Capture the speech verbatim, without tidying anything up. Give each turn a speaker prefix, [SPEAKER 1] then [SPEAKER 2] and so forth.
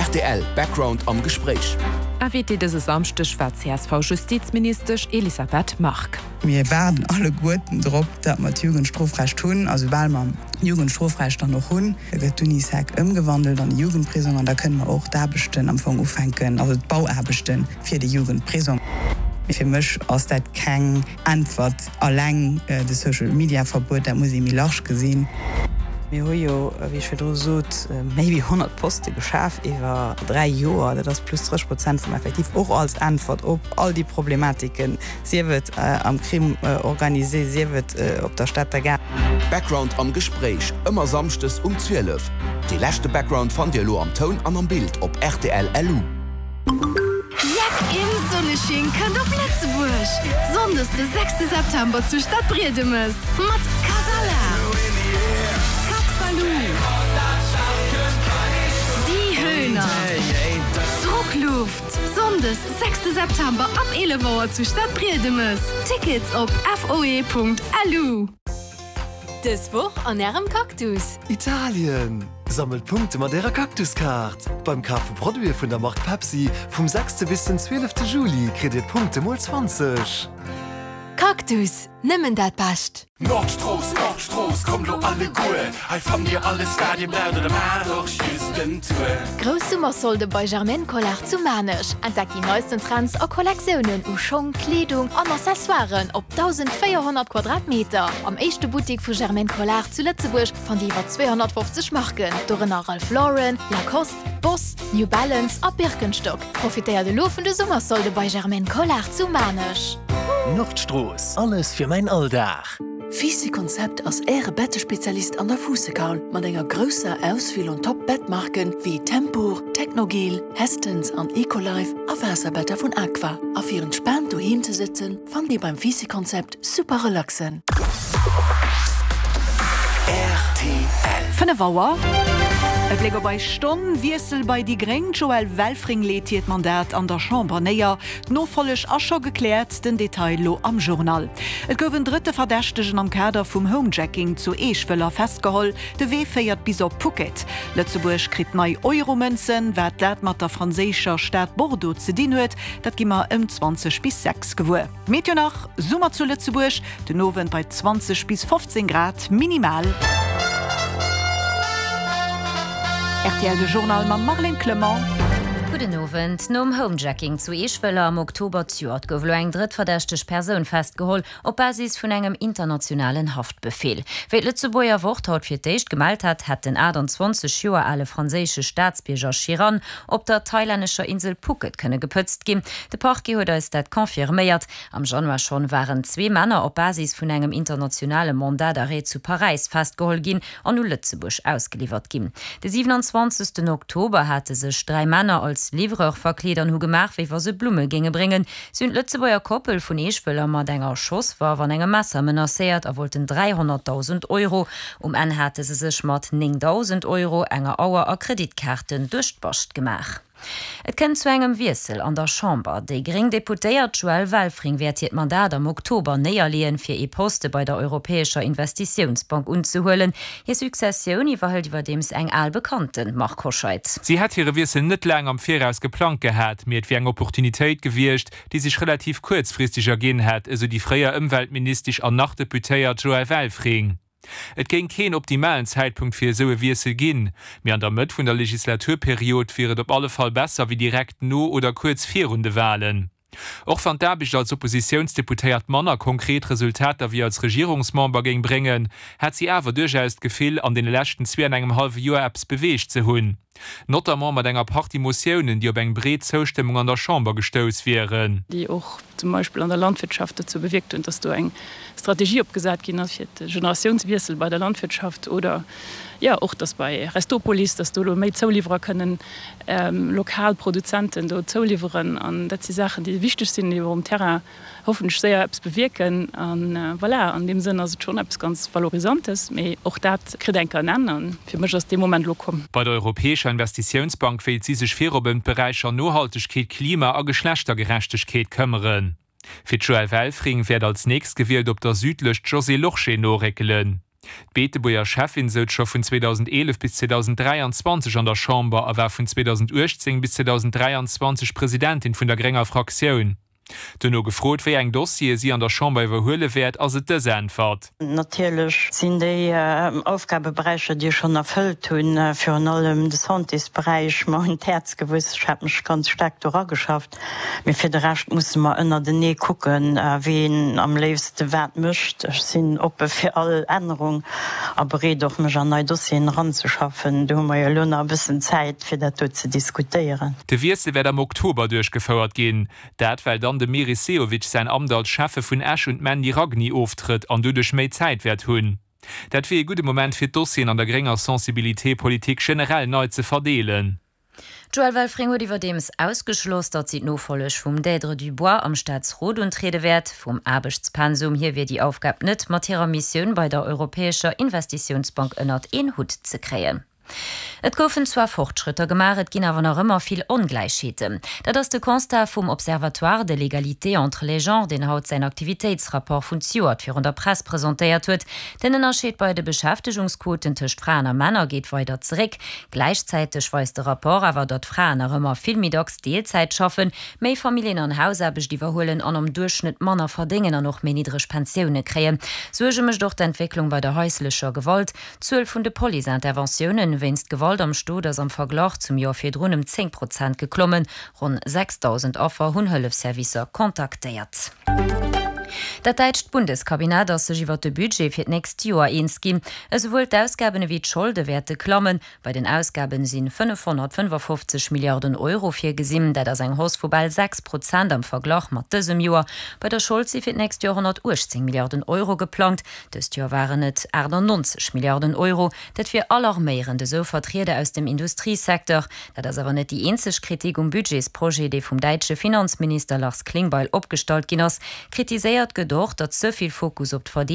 [SPEAKER 1] Rtl Background am Gespréich.
[SPEAKER 2] Invitée dëse Samschdeg war d'CSV-Justizministesch Elisabeth Margue.
[SPEAKER 3] Mir waarden alleguerten drop, datt mer d'Jugendstrofrecht hunn. A soubal mer d'Jugendstrofrecht dann och hunn, gëtt d'Unisec ëmgewandelt an e Jugendprisong an da kënne mer och d'Aarbechten am Fong ufänken, also d'Bauaarbechte fir de Jugendprisong. Fir mech ass dat keng Äntwert alleng, de Social-Media-Verbuet, dat muss ee méi large gesinn. Mir hu jo, wéi ech virdru sot, méi wéi honnert Poste geschaf iwwer dräi Joer. Dat ass plus drësseg Prozent vum Effektiv, och als Äntwert op all déi Problematiken, sief et am Crime organisé, sief et op der Stater Gare.
[SPEAKER 1] Background am Gespréich, ëmmer samschdes um zwielef. Dee leschte Background fannt Dir elo am Toun an am Bild op rtl lu.
[SPEAKER 4] Jack im Sonnesching kënnt op Lëtzebuerg! Sonndes de sechste September zu Stadbriedemes mat Kasala, Cat Balou, Die Höhner, Druckluft. Sonndes sechste September ab eelef Auer zu Stadbriedemes. Tickets op foe.lu.
[SPEAKER 5] Dës Woch an Ärem Cactus.
[SPEAKER 6] Italien! Sammelt Punkte mat Ärer Cactus-Kaart! Beim Kaf vu Produite vun der Mark Pepsi vum sechste bis den zwielefte Juli kritt Dir d'Punkte mol zwanzeg.
[SPEAKER 5] Cactus, nëmmen dat Bescht!
[SPEAKER 7] Nordstrooss, Nordstrooss, kommt lo alleguer, hei fannt dir alles wat dir braucht oder maacht och just en Tour.
[SPEAKER 5] Grouss Summersolde bei Germaine Collard zu Maarnech. Entdeckt déi neisten Trends a Kollektiounen u Schong, Kleedung an Accessoiren op dausendvéierhonnert Quadratmeter. Am éischte Buttik vu Germaine Collard zu Lëtzebuerg fannt dir iwwer zweehonnertfofzeg Marken, dorënner Ralph Lauren, Lacoste, Boss, New Balance a Birkenstock. Profitéiert elo vun de Summersolde bei Germaine Collard zu Maarnech.
[SPEAKER 8] Nordstrooss, alles fir mäin Alldag.
[SPEAKER 9] Fisi Konzept ass Äre Bettespezialist an der Fuussekaul mat enger grousser Auswiel un Top Bettmarken wéi Tempur, Technogel, Hästens an Ecolife a Waasserbetter vun Aqua. A fir entspaant doheem ze sëtzen, fannt Dir beim Fisi Konzept super relaxen.
[SPEAKER 7] Rtl.
[SPEAKER 10] Fënnef Auer. E Bléck op eis Stonn, Wiessel bei déi gréng, D'Joëlle Welfring leet hiert Mandat an der Chamber néier. D'Nofolleg ass scho gekläert, den Detail lo am Journal. Et gouf en drëtte Verdächtegen am Kader vum Homejacking zu Eeschwëller festgeholl. De Wee féiert bis op Phuket. Lëtzebuerg kritt nei Euromënzen. Wat dat mat der franséischer Stad Bordeaux ze dinn huet, dat gi mer ëm zwanzeg bis sechs gewuer. Meteo nach, Summer zu Lëtzebuerg, den Owend bei zwanzeg bis fofzéng Grad minimal. Rtl De Journal mam Marlène Clement.
[SPEAKER 11] Gudden Owend. Nom Homejacking zu Eeschwëller am Oktober zejoert gouf elo eng drëtt verdächteg Persoun festgeholl, op Basis vun engem internationalen Haftbefeel. Wéi d'Lëtzebuerger Wort haut fir d'éischt gemellt hat, hätt den achtanzwanzeg Joer ale franséische Staatsbierger Chiran op der thailännescher Insel Phuket kënne gepëtzt ginn. De Parquet huet eis dat confirméiert. Am Januar schonn waren zwee Männer op Basis vun engem internationale Mandat d'arrêt zu Paräis festgeholl ginn an u Lëtzebuerg ausgeliwwert ginn. De siewenundzwanzegsten Oktober hate sech dräi Männer als Livreur verkleet an hu gemaach, wéi wa se Blumme géinge bréngen. Si hunn d'Lëtzebuerger Koppel vun Eeschwëller mat enger Schosswaff an engem Messer menacéiert a wollten dräihonnertdausend Euro. Um Enn hate se sech mat néngdausend Euro, enger Auer a Kreditkaarten duerch d'Bascht gemaach. Et kënnt zu engem Wiessel an der Chamber. Déi gréng Deputéiert Joëlle Welfring wäert hiert Mandat am Oktober néierleeën, fir ee Poste bei der Europäescher Investitiounsbank unzehuelen. Hir Successioun iwwerhëlt iwwerdeems eng al Bekannten, Marc Hoscheid.
[SPEAKER 12] Si hätt hire Wiessel net laang am Viraus geplangt gehat, mee et wier eng Opportunitéit gewiescht, déi sech relativ kuerzfristeg erginn hätt, esou déi fréier Ëmweltministesch an nach Deputéiert Joëlle Welfring. Et géing keen optimalen Zäitpunkt fir esou e Wiessel ginn, mee an der Mëtt vun der Legislaturperiod wier et op alle Fall besser wéi direkt no oder kuerz virun de Walen. Och wann d'Aarbecht als Oppositiounsdeputéiert manner konkret Resultater wéi als Regierungsmember géing bréngen, hätt si awer duerchaus d'Gefill, an deene leschten zwee an engem hallwe Joer eppes beweegt ze hunn. Notamment mat enger Partie Motiounen, déi op eng breet Zoustëmmung an der Chamber gestouss wieren.
[SPEAKER 13] Déi och zum Beispill an der Landwirtschaft dozou bewierkt hunn, dass do eng Strategie opgesat ginn ass fir de Generatiounswiessel bei der Landwirtschaft oder, jo, och dass bei Restopolis, dass do elo méi Zouliwwerer kënnen lokal Produzenten do zouliwweren. An dat si Saachen, déi wichteg sinn, déi och um Terrain hoffentlech séier eppes bewierken. An voilà, an deem Sënn ass et schonn eppes ganz Valorisantes, mee och dat kritt eng Kéier en Enn. A fir mech ass dee Moment elo komm.
[SPEAKER 12] Bei der Europäescher Investitiounsbank wéilt si sech virop ëm d'Beräicher Nohaltegkeet, Klima a Geschlechtergerechtegkeet këmmeren. Fir d'Joëlle Welfring wäert als Nächstgewielt op der Südlëscht d'Josée Lorsché noréckelen. D'Beetebuerger Schäffin souz scho vun zweedausendeelef bis zweedausenddräianzwanzeg an der Chamber a war vun zweedausenduechtzéng bis zweedausenddräianzwanzeg Presidentin vun der grénger Fraktioun. Duerno gefrot, wéi eng Dossiere si an der Chamber iwwerhuele wäert, ass et dës Äntwert.
[SPEAKER 14] Natierlech sinn déi Aufgabeberäicher, déi ech schonn erfëllt hunn, virun allem de Santésberäich, mer un d'Häerz gewuess. Ech hat mech ganz staark do erageschafft. Mee fir de Rescht musse mer ënnertenee kucken, ween am léifste wat mécht. Ech sinn oppe fir all Ännerung a bereet och, mech an nei Dossieren eranzeschaffen. Do hu mer jo elo nach e bëssen Zäit, fir dat do ze diskutéieren.
[SPEAKER 12] De Wiessel wäert am Oktober duerchgefouert ginn. Dat well dann dem Meris Sehovic säin Amt als Schäffe vun Esch un d'Mandy Ragni oftrëtt an doduerch méi Zäit wäert hunn. Dat wier ee gudde Moment fir d'Dossieren an der grénger Sensibilité politique generell nei ze verdeelen.
[SPEAKER 11] D'Joëlle Welfring huet iwwerdeems ausgeschloss, datt si d'Nofolleg vum Dèdre Dubois am Staatsrot untriede wäert. Vum Aarbechtspensum hier wier déi Aufgab net mat hirer Missioun bei der Europäescher Investitiounsbank ënnert een Hutt ze kréien. Et goufen zwar Fortschrëtter gemaach, et ginn awer nach ëmmer vill Ongläichheeten. Dat ass de Constat vum Observatoire de l'égalité entre les genres, deen haut säin Aktivitéitsrapport vun zejoert virun der Press presentéiert huet. Den Ënnerscheed bei de Beschäftegungsquoten tëscht Fraen a Männer geet weider zeréck. Gläichzäiteg weist de Rapport awer, datt Fraen nach ëmmer vill méi dacks Deelzäit schaffen, méi Familljen an Hausaarbecht iwwerhuelen an am Duerchschnëtt manner verdéngen an och méi niddreg Pensioune kréien. Suerge mécht och d'Entwécklung bei der haislecher Gewalt. D'Zuel vun de Police-Interventiounen wéinst Gewalt am Stot ass am Verglach zum Joer virdrun ëm zéng Prozent geklommen. Ronn sechsdausend Affer hunn Hëllefsservicer kontaktéiert. Dat däitscht Bundeskabinett ass sech iwwert de Budget fir d'nächst Joer eens ginn. Esouwuel d'Ausgaben ewéi d'Scholde wäerte klammen. Bei den Ausgaben si fënnefhonnertfënnefafofzeg Milliarden Euro virgesinn. Dat ass eng Hausse vu bal sechs Prozent am Verglach mat dësem Joer. Bei der Schold si fir d'nächst Joer honnertuechtzéng Milliarden Euro geplangt. Dëst Joer waren et achtannonzeg Milliarden Euro. Dat wier alarméierend, esou Vertrieder aus dem Industriesecteur. Dat ass awer net déi eenzeg Kritik um Budgetsprojet, dee vum däitsche Finanzminister Lars Klingbeil opgestallt ginn ass. Kritiséiert gëtt och, datt ze vill Fokus op d'Verdeedegung